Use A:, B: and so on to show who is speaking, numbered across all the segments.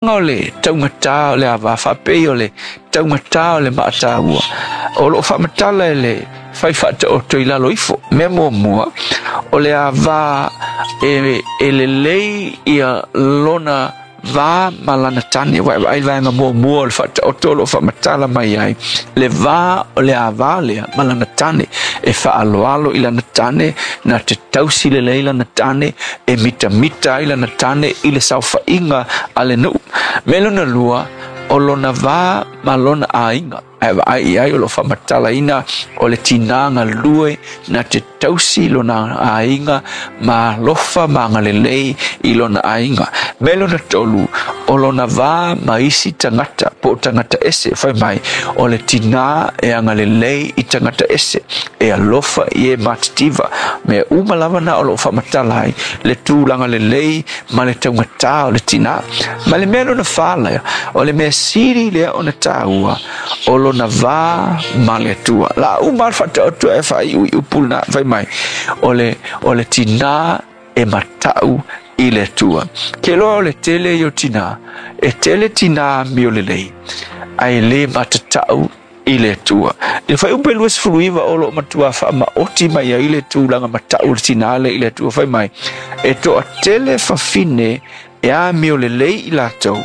A: O le taugatā o le ava faapei o le taugatā o le maataua o loo faamatala e le fai faataoto i lalo ifo. Mea muamua, o le ava e lelei ia lona va ma lana tane. Vaai vaega muamua o le faataoto o loo faamatala mai ai le va o le ava lea ma lana tane, e faaloalo i lana tane, na te tausi lelei lana tane, e mitamita ai lana tane i le saofaiga a le nuu. Me lona lua, o lona va ma lona aiga. Ae vaai i ai o lo faamatalaina o le tinā galue na te tausi lona aiga ma alofa ma agalelei i lona aiga. Me lona tolu, o lona va ma isi tagata po o tagata ese. Fai mai o le tinā e agalelei i tagata ese, e alofa i e matitiva. Mea uma lava na o loo faamatala ai le tulaga lelei ma le taugatā o le tinā. Ma le mea lona whā lea, o le mea sili lea ona tāua, o lona va ma le Atua. La uma le faataoto e faaiuiu pulena fai mai, o le tinā e matau i le Atua. Ke loa o le tele i o tinā, e tele tinā amio lelei, ae le matatau i le Atua. I le fuaiupu e 29 o loo matua faamaoti mai ai le tulaga matau o le tinā lea i le Atua. Fai mai, e toatele fafine e amio lelei i latou,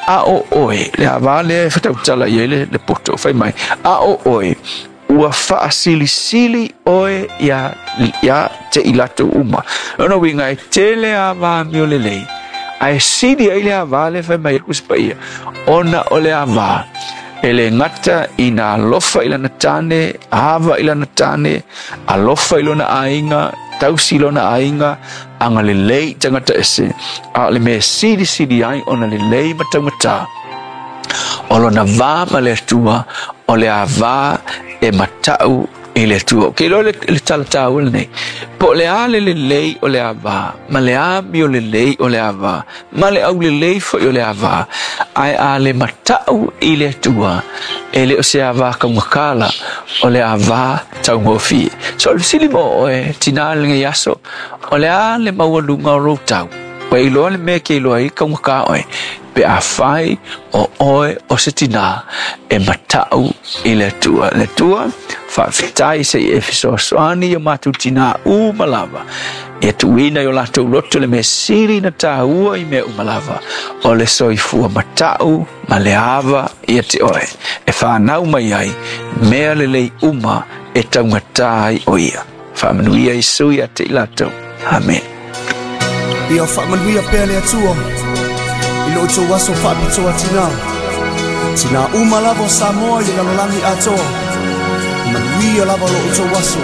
A: a o oe, le ava lea e fatautala i ai le poto, fai mai, a o oe, ua faasilisili oe ia te i latou uma. Lona uiga e tele ava amio lelei, ae sili ai le ava lea fai mai e le Tusi Paia, ona o le ava e le gata ina alofa i lana tane, ava i lana tane, alofa i lona aiga, tausi lona aiga, agalelei i tagata ese, a o le mea silisili ai ona lelei ma taugata, o lona va ma le Atua, o le ava e matau i le Atua. Ke iloa le tala taua lenei, po o le a le lelei o le ava, ma le amio lelei o le ava, ma le aulelei foi o le ava, ae a le matau i le Atua, e le o se ava kaugatala, o le ava taugofie. So o le fesili mo oe, tinā i lenei aso, o le a le maualuga o lou tau? Ua e iloa le mea e te iloa ai kaugata oe, pe afai o oe o se tinā e matau i le Atua. Le Atua, faafetai se i e fesoasoani i o matou tinā uma lava, ia tuuina i o latou loto le mea sili na tāua i mea uma lava, o le soifua matau ma le ava ia te oe, e whanau mai ai mea lelei uma e taugata ai o ia. Faamanuia Iesu ia te i latou. Amen.
B: Ia faamanuia pea le Atua i lo outou aso faapitoa tinā. Tinā uma lava o Samoa i le lalolagi atoa. Manuia lava lo outou aso.